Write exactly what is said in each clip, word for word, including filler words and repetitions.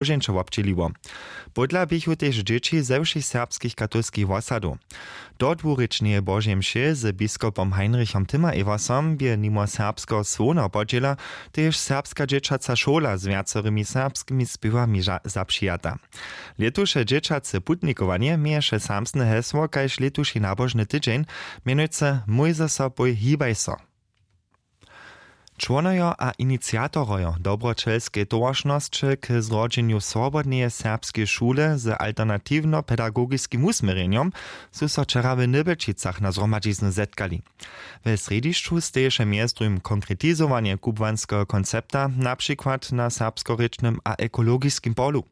Božeńšo wobdźěliło. Pódla běchu tež dźěći ze wšěch serbskich katolskich wosadow. Do dwurěčneje Božej mše z biskopom Heinrichom Timmer-Eversom bě nimo serbskeho słowneho podźěla tež serbska dźěćaca šola z wjacorymi serbskimi spěwami zapřijata. Lětuše dźěćace putnikowanje měješe samsne hesło kaž lětuši nabožny tydźeń, mjenujcy mójzeso pój hibaj so. Čłonojo a iniciatorojo dobroćelskej towaršnosće k zrodźenju swobodneje serbskeje šule z alternatiwnopedagogiskim wusměrjenjom su so wčera w Nybelčicach na zhromadźiznu zetkali. We srjedźišću steješe mjez druhim konkretizowanje kubłanskeho koncepta na přikład na serbskorěčnym a ekologiskim polu.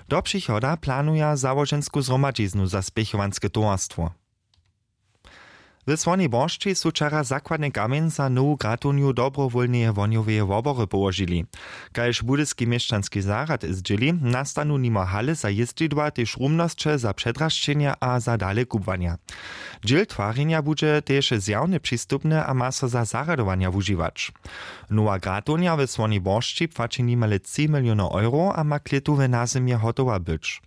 Do přichoda planuja załožensku zhromadźiznu za spěchowanske towarstwo. W słonej boršći su wčera zakładny kamjeń za nowu gratownju dobrowólneje wohnjoweje wobory połožili. Kaž budyski měšćanski zarjad zdźěli, nastanu nimo hale za jězdźidła tež rumnosće za předrašćenja a za dalekubłanja. Dźěl twarjenja budźe tež zjawne přistupne a ma so za zarjadowanja wužiwać. Nowa gratownja w słonej boršći płaći nimale tři milionow euro a ma klětu w nazymje hotowa być.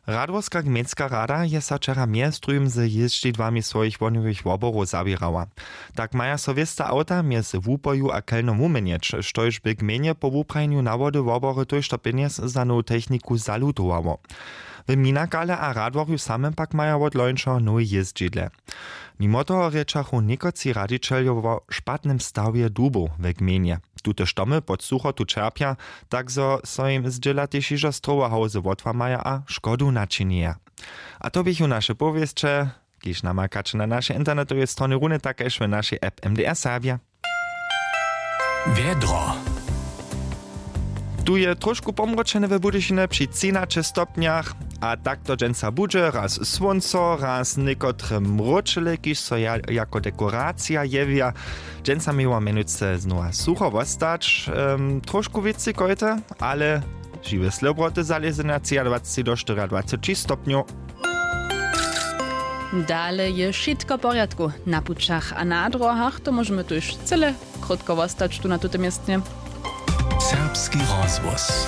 Radworska gmejnska rada je so wčera mjez druhim z jězdźidłami swojich wohnjowych woborow zawěrała. Tak maja so wěsta awta mjez wupoju a kelnom wuměnjeć, štož bě gmejnje po wuprajenju nawody wobory tójšto pjenjez za nowu techniku zalutowało. W minakale a radworju samym pak maja wot lońšeho nowe jězdźidle. Nimo toho rěčachu někotři radźićeljo wo špatnym stawje dubow we gmejnje. Tute štomy pod suchotu ćerpja, tak zo so jim zdźěla tež hižo strowohałzy wotłamaja a škodu načinjeja. A to běchu naše powěsće, kiž namakaće na našej internetowej stronje runje tak kaž w našej app mdr serbja. Wjedro. Tu je trošku pomročene w budyšinje při třinaće stopnjach. A tak to dźensa budźe, raz słónco, raz někotre mróčele kiž so jako dekoracija jewja. Dźensa měło mjenujce znowa sucho wostać, trošku wěcy kojte, ale žiwe slobroty zalěze na třiadwaceći do štyriadwaceći stopnjow. Dale je wšitko w porjadku na pućach a na dróhach, to móžemy tuž cyle krótko wostać tu na tutym městnje. Serbski rozhłos.